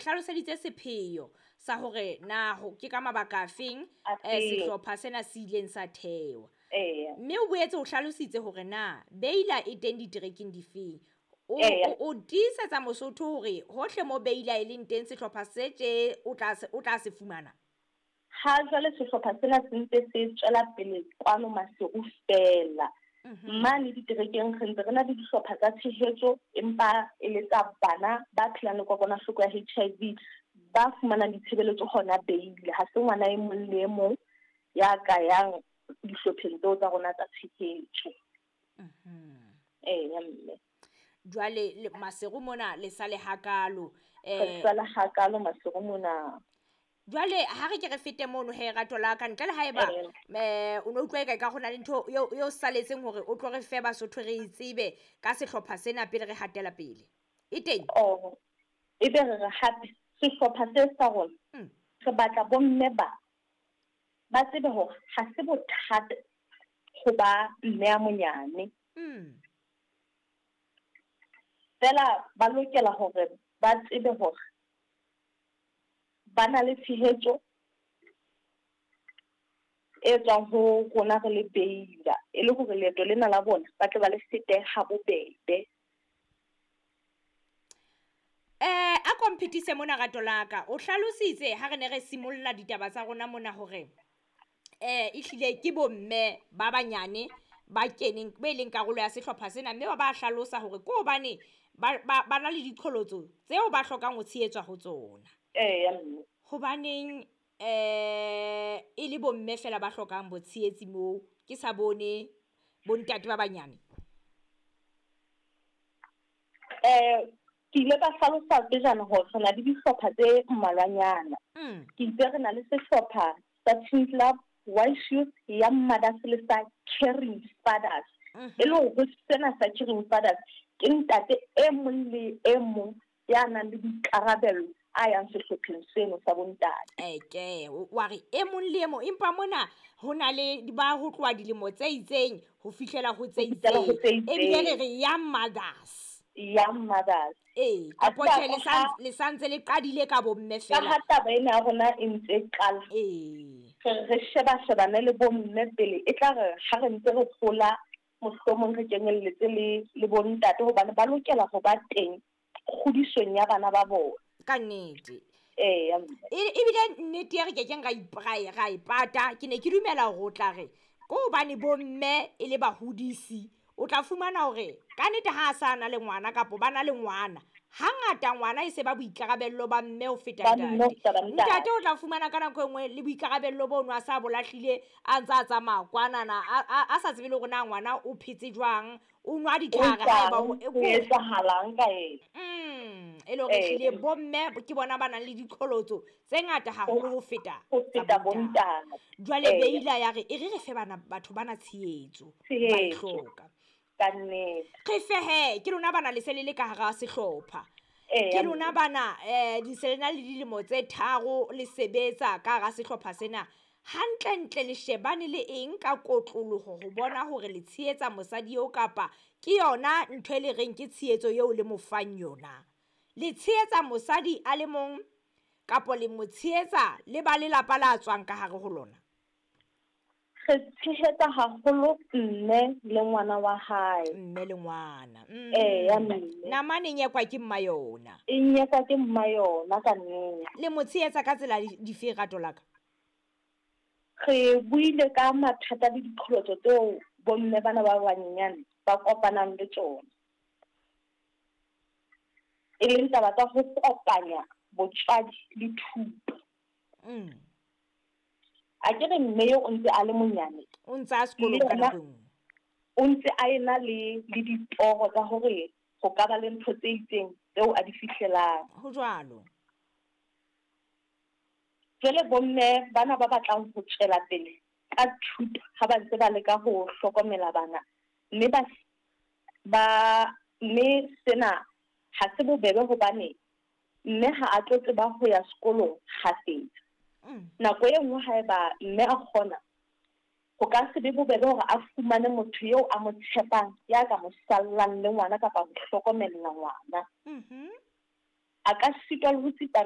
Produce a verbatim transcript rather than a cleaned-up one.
Hlaloseditse sepheo sa hore na ho ke ka mabaka afeng eh, sehlopha sena se ileng sa thewa. Mme o boetse o hlalositse hore na Beila e teng diterekeng difeng. O, o, o tiisetsa Mosotho hore hohle mo Beila e leng teng sehlopha se tje o tla se, o tla se fumana. Ha jwale sehlopha sena se ntse se tswela pele kwano Maseru feela. Mane diterekeng re ntse re na le dihlopha tsa tshehetso, empa e le tsa bana ba phelang le kokwanahloko ya H I V ba fumanang ditshebeletso hona Beila. Ha se ngwana e mong le e mong ya ka yang dihlopheng tseo tsa rona tsa tshehetso. Eya mme. Jwale Maseru mona le sa le hakalo. Re sa le hakalo Maseru mona. Jwale ha re ke re fete mono he rato la ka ntle le haeba eh o no utlwa e ka gona le ntho eo eo saletseng hore o tlo re fe Basotho re itsebe ka sehlopha sena pele re hatela pele. E teng? Oh, e be re re hape sehlopha se sa rona re batla bomme ba ba tsebe hore ha se bothata ho ba mme a monyane. Mm. Fela ba lokela hore ba tsebe hore ba na le tshehetso e tswang ho rona re le Beila, e le hore leeto lena la bona ba tle ba le fete ha bobebe. Eh, a kompetise mona rato la ka. O hlalositse ha re ne re simolla ditaba tsa rona mona hore eh ehlile ke bomme ba banyane ba keneng be leng karolo ya sehlopha sena, mme ba ba hlalosa hore ke hobane ba ba na le diqholotso tseo ba hlokang ho tshehetswa ho tsona. Eya mme. Hobaneng eh e le bomme fela ba hlokang botshehetsi moo, ke sa bone bontate ba banyane? Eh ke ile ka hlalosa pejana hore re na le dihlopha tse mmalwanyana. Ke itse re na le sehlopha sa Teen Club, Wise Youth, Young Mothers le sa Caring Fathers. E le hore ho sena sa Caring Fathers ke ntate e mong le e mong ya nang le boikarabelo a yang sehlopheng seno sa bontate. Eke, wa re e mong le e mong, empa mona ho na le ba ho tloha dilemo tse itseng ho fihlela ho tse itseng. Ebile re re Young Mothers. Young Mothers. Ee, kapo tjhe le sa le santse le qadile ka bomme fela. Ka ha taba ena ya rona e ntse e qala. Ee. Re re sheba shebane le bomme pele, e tla re ha re ntse re hola mohlomong re kenyelletse le le bontate hobane ba lokela ho ba teng kgodisong ya bana ba bona. Ka nnete. Ee. Ebile nnete ya re kekeng ra ra ipata, ke ne ke dumela hore o tla re ko hobane bomme e le bahodisi, o tla fumana hore ka nnete ha a sa na le ngwana kapo ba na le ngwana, hangata ngwana e se ba boikarabello ba mme ho feta ntate. Ntate o tla fumana ka nako e nngwe le boikarabello bono a sa bolahlile, a ntse a tsamaya kwanana, a sa tsebe le hore na ngwana o phetse jwang, o nwa ditlhare haeba o etsahalang ka ena. Mm, e le hore ehlile bomme ke bona ba nang le diqholotso tse ngata haholo ho feta ho feta bontate. Jwale Beila ya re e re re fe bana batho bana tshehetso ba e hloka. Ka nnete. Re fe he, ke lona bana le se le le ka hara sehlopha. Ke lona bana eh di se le na le dilemo tse tharo le sebetsa ka hara sehlopha sena. Hantlentle le shebane le eng ka kotloloho ho bona hore le tshehetsa mosadi eo kapa ke yona ntho e le reng ke tshehetso eo le mo fang yona? Le tshehetsa mosadi a le mong kapo le mo tshehetsa le ba lelapa la tswang ka hare ho lona? Re tshehetsa haholo mme le ngwana wa hae. Mme le ngwana. Eya mme. Namane e nyekwa ke mma yona. E nyekwa ke mma yona ka nnete. Le mo tshehetsa ka tsela dife rato la ka? Re buile ka mathata le diqholotso tseo bomme bana ba banyenyane ba kopanang le tsona. E leng taba tsa ho kopanya botswadi le thuto. Mm. A ke re mme eo o ntse a le monyane. O ntse a sekolong ka nako e nngwe. O ntse a ena le le ditoro tsa hore ho ka ba le ntho tse itseng tseo a di fihlelang. Ho jwalo. Jwale bomme bana ba batlang ho tswela pele ka thuto ha ba ntse ba leka ho hlokomela bana, mme ba ba mme sena ha se bobebe hobane mme ha a tlo tseba ho ya sekolong kgafetsa. Nako e nngwe haeba mme a kgona, ho ka se be bobebe hore a fumane motho eo a mo tshepang ya ka mo sallang le ngwana kapa ho hlokomella ngwana. Mhm. A ka sitwa le ho tsipamisa